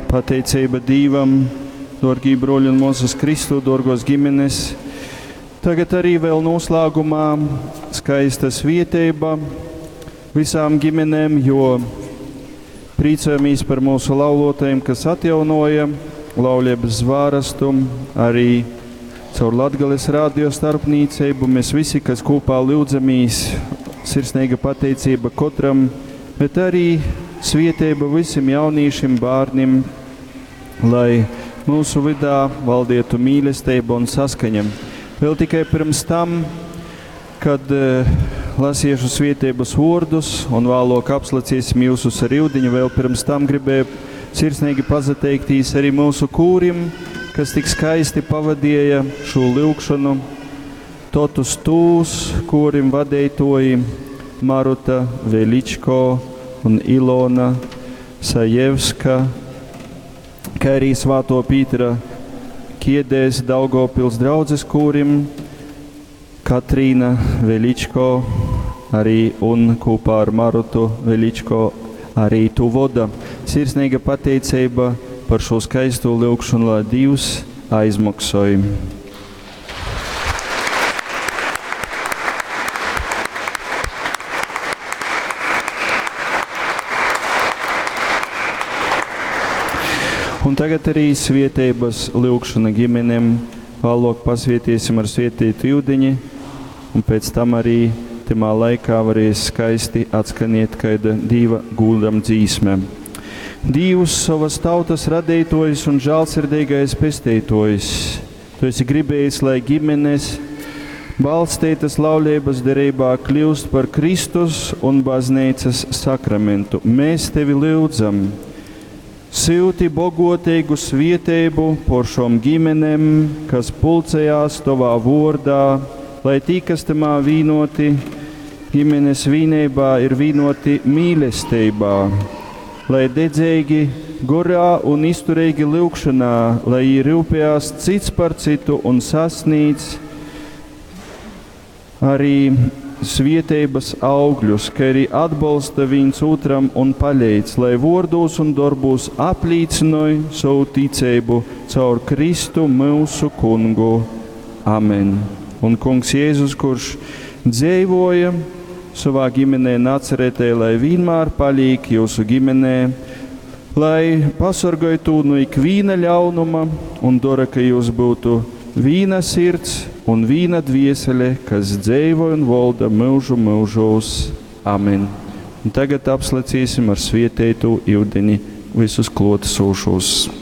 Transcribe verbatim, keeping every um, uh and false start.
Pateiceiba Dīvam, dōrgī brōļi un mōsas Kristu, dōrgōs ģimenes. Tagad arī vēl noslēgumā skaista svieteiba visām ģimenēm, jo prīcojamies par mūsu laulotajiem, kas atjaunoja laulības zvārastu, arī caur Latgales radio starpniecību. Mēs visi, kas kopā lūdzamīs, sirsnīga pateicība katram, bet arī svieteiba visiem jauniešiem, bērniem, lai mūsu vidā valdietu mīlestība un saskaņa. Vēl tikai pirms tam, kad eh, lasiešu svietības vārdus un vēlāk apslacīsim jūsus ar ūdeņu, vēl pirms tam gribēju sirsnīgi pazateiktīs arī mūsu kūrim, kas tik skaisti pavadīja šo lūgšanu. Totus tūs, kurim vadītoji Maruta Veličko un Ilona Sajevska, kā arī Svāto Pītera Kiedēs Daugavpils draudzes kūrim, Katrīna Veličko arī un kopā ar Marutu Veličko arī tu voda. Sirsnīga pateicība par šo skaisto lūgšanu, lai Dievs aizmaksoj. Un tagad arī svietības lūgšana ģimenēm. Vēlāk pasvietīsim ar svietītu ūdeņi, un pēc tam arī timā laikā varēs skaisti atskaniet kaida Dīva gūdam dzīsme. Dievs, savas tautas radītājs un žēlsirdīgais pestītājs, tu esi gribējis, lai ģimenes balstītas laulības derībā kļūst par Kristus un baznīcas sakramentu. Mēs tevi lūdzam, silti bogotīgu svieteibu por šom ģimenēm, kas pulcējās tovā vordā, lai tī, kas tamā vīnoti, ģimenes vīnībā ir vīnoti mīlestībā, lai dedzīgi gorā un izturīgi lūgšanā, lai jī rūpējās cits par citu un sasniedz arī svietības augļus, ka arī atbalsta viens otram un palīdz, lai vārdos un darbos aplīcinoja savu ticību caur Kristu mūsu kungu. Amen. Un kungs Jēzus, kurš dzīvoja savā ģimenē Nacaretē, lai vienmēr paliek jūsu ģimenē, lai pasargāj to no ikviena ļaunuma un dara, ka jūs būtu vīna sirds un vīna dviesele, kas dzīvo un valda mūžu mūžos. Amen. Un tagad apslecīsim ar svieteitu ūdeni visus klotsūšos.